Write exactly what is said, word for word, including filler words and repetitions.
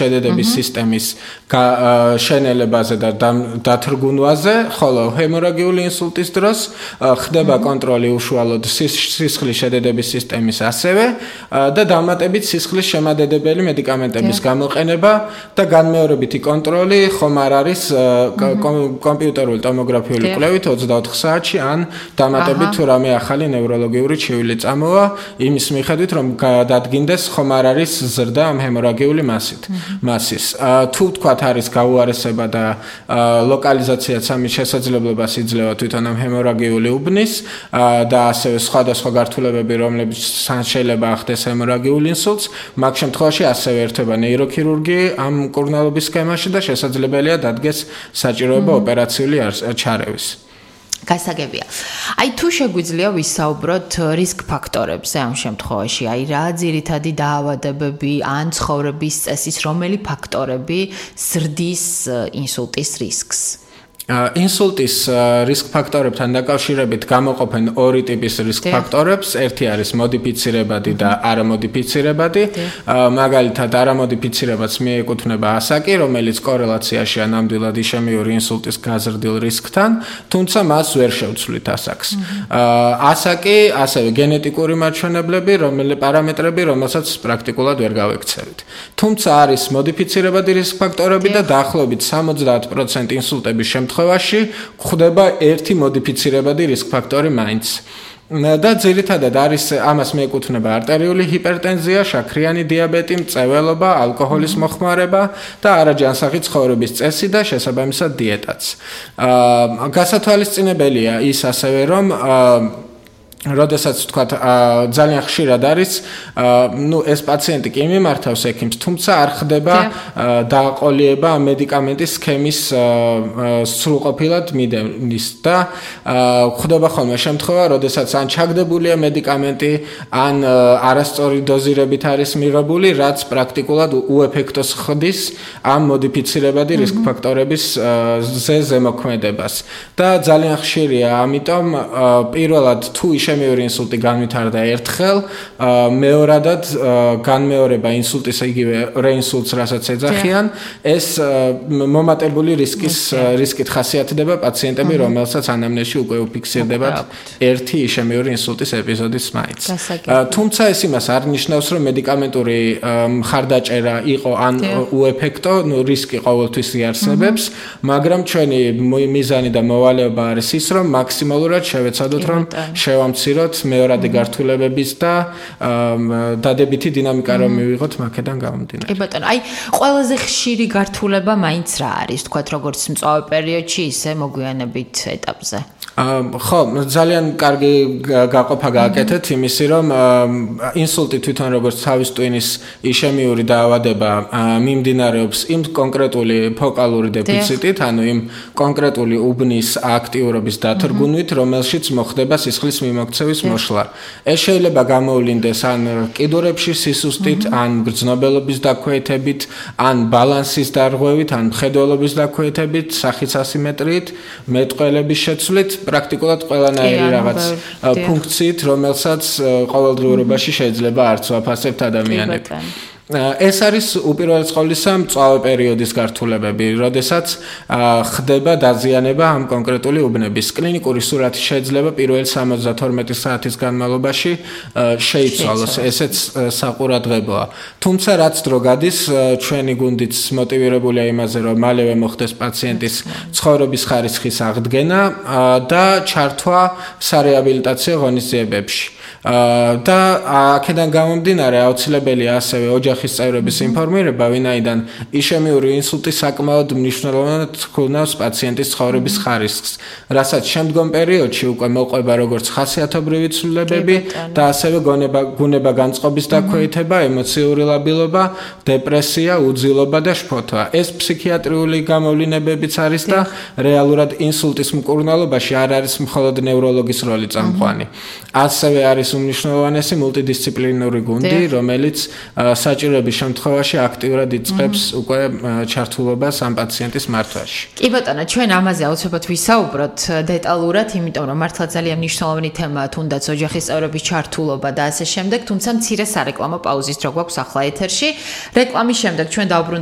შედედების სისტემის შენელებაზე და დათრგუნვაზე, ხოლო ჰემორაგიული ინსულტის დროს ხდება კონტროლი უშუალოდ სისხლის შედედების სისტემის ასევე და დამატებით სისხლის შემადედებელი მედიკამენტების გამოყენება და განმეორებითი კონტროლი ხომ არ არის კომპიუტერული ტომოგრაფიული კვლევით ოცდაოთხ საათში ან დამატებით თუ რამე ახალი ნევროლოგიური ჩივილი წამოვა იმის მიხედვით რომ დადგინდეს ხომ არ არის ზრდა ამ ჰემორაგიული მასით მასის თუ თქვათ არის გაუარესება და ლოკალიზაციაც ამის შესაძლებლობას იძლევა თვითონ ამ ჰემორაგიული უბნის და ასევე სხვადასხვა გართულებები რომლებიც შეიძლება ახდეს ჰემორაგიულ ინსულტს მაგ შემთხვევაში ასევე ერთება ნეიროქირურგი ამ მკურნალობის სქემაში და შესაძლებელია დადგეს საჭიროება ოპერაციული ჩარევის. გასაგებია. აი თუ შეგვიძლია ვისაუბროთ რისკ ფაქტორებზე ამ შემთხვევაში, აი რა ძირითადი დაავადებები ან ცხოვრების წესის რომელი ფაქტორები ზრდის ინსულტის რისკს? ინსულტის რისკ ფაქტორებთან დაკავშირებით გამოყოფენ ორი ტიპის რისკ ფაქტორებს. ერთი არის მოდიფიცირებადი და არამოდიფიცირებადი. მაგალითად, არამოდიფიცირებადს მიეკუთვნება ასაკი, რომელიც კორელაციაშია ნამდვილად იშემიური ინსულტის გაზრდილ რისკთან, თუმცა მას ვერ შევცვლით ასაკს. ასაკი, ასევე გენეტიკური მაჩვენებლები, რომელი პარამეტრები, რომელსაც პრაქტიკულად ვერ გავექცევით. თუმცა არის მოდიფიცირებადი რისკ ფაქტორები და დაახლოებით სამოცდაათ პროცენტ ინსულტების შემთხვევაში გვხვდება ერთი მოდიფიცირებადი რისკ ფაქტორი მაინც. და ძირითადად არის ამას მიეკუთვნება არტერიული ჰიპერტენზია, შაქრიანი დიაბეტი, მწვერვალობა, ალკოჰოლის მოხმარება და არაჯანსაღი ცხოვრების წესი და შესაბამისად დიეტაც. გასათვალისწინებელია ის ასევე რომ როდესაც თქვათ ძალიან ხშირად არის ნუ ეს პაციენტი კი მიმართავს ექიმს, თუმცა არ ხდება დააყოლიება მედიკამენტის სქემის სრულყოფილად მიდევნის და ხდება ხოლმე შემთხვევა, როდესაც ან ჩაგდებულია მედიკამენტი, ან არასწორი დოზირებით არის მიღებული, რაც პრაქტიკულად უეფექტოს ხდის ამ მოდიფიცირებადი რისკ ფაქტორების ზემოქმედებას. და ძალიან ხშირია, ამიტომ პირველად თუ იშემიური ინსულტი განვითარდა ერთხელ, მეორადად განმეორება ინსულტის იგივე რეინსულტს, რასაც ეძახიან, ეს მომატებული რისკის რისკით ხასიათდება პაციენტები, რომელსაც ანამნეზში უკვე უფიქსირდებათ ერთი იშემიური ინსულტის ეპიზოდიც მაინც. თუმცა ეს იმას არ ნიშნავს, რომ მედიკამენტური მხარდაჭერა იყო ან უეფექტო, ნუ რისკი ყოველთვის იარსებებს, მაგრამ ჩვენი მიზანი და მოვალეობა არის ის, რომ მაქსიმალურად შევეცადოთ, რომ შევამციროთ მეორადი გართულებების და დადებითი დინამიკა რომ მივიღოთ მაქედან გამომდინარე. კი ბატონო, აი ყველაზე ხშირი გართულება მაინც რა არის, თქვათ როგორც მწვავე პერიოდში, ისე მოგვიანებით ეტაპზე? ხო, ძალიან კარგი გაყოფა გააკეთეთ იმისი, რომ ინსულტი თვითონ როგორც თავის ტვინის იშემიური დაავადება მიმდინარეობს იმ კონკრეტული ფოკალური დეფიციტით, ანუ იმ კონკრეტული უბნის აქტიურობის დათრგუნვით, რომელშიც მოხდება სისხლის მიმოქცევის მოშლა. ეს შეიძლება გამოვლინდეს ან კიდურებში სისუსტით, ან გრძნობელობის დაქვეითებით, ან ბალანსის დარღვევით, ან მხედველობის დაქვეითებით, სახის ასიმეტრიით, მეტყველების შეცვლით, პრაქტიკულად ყველანაირი რაღაც ფუნქციით, რომელსაც ყოველდღიურობაში შეიძლება არც ვაფასებთ ადამიანები. ეს არის უპირველეს ყოვლისა მწვავე პერიოდის გართულებები, როდესაც ხდება დაზიანება ამ კონკრეტული უბნების. კლინიკური სურათი შეიძლება პირველი სამოცდათორმეტი საათის განმავლობაში შეიცვალოს, ესეც საყურადღებოა. თუმცა რაც დრო გადის, ჩვენი გუნდიც მოტივირებულია იმაზე, რომ მალევე მოხდეს პაციენტის ცხოვრების ხარისხის აღდგენა და ჩართვა სარეაბილიტაციო ღონისძიებებში. და აქედან გამომდინარე აუცილებელია ასევე ოჯახის წევრების ინფორმირება, ვინაიდან იშემიური ინსულტი საკმაოდ მნიშვნელოვნად ჰქონავს პაციენტის ცხოვრების ხარისხს, რასაც შემდგომ პერიოდში უკვე მოყვება როგორც ხასიათობრივი ცვლილებები და ასევე გონება გუნება განწყობის დაქვეითება, ემოციური ლაბილობა, დეპრესია, უძილობა და შფოთვა. ეს ფსიქიატრიული გამოვლინებებიც არის და რეალურად ინსულტის მკურნალობაში არ არის მხოლოდ ნევროლოგის როლი წამყვანი. ასევე არის უმნიშვნელოვანესი მულტიდისციპლინური გუნდი, რომელიც საჭიროების შემთხვევაში აქტიურად იწყებს უკვე ჩართულობას ამ პაციენტის მართვაში. კი ბატონო, ჩვენ ამაზე აუცილებლად ვისაუბროთ დეტალურად, იმიტომ რომ მართლა ძალიან მნიშვნელოვანი თემაა, თუნდაც ოჯახის წევრების ჩართულობა და ასე შემდეგ, თუმცა მცირე სარეკლამო პაუზის დრო გვაქვს ახლა ეთერში. რეკლამის შემდეგ ჩვენ დავბრუნდებით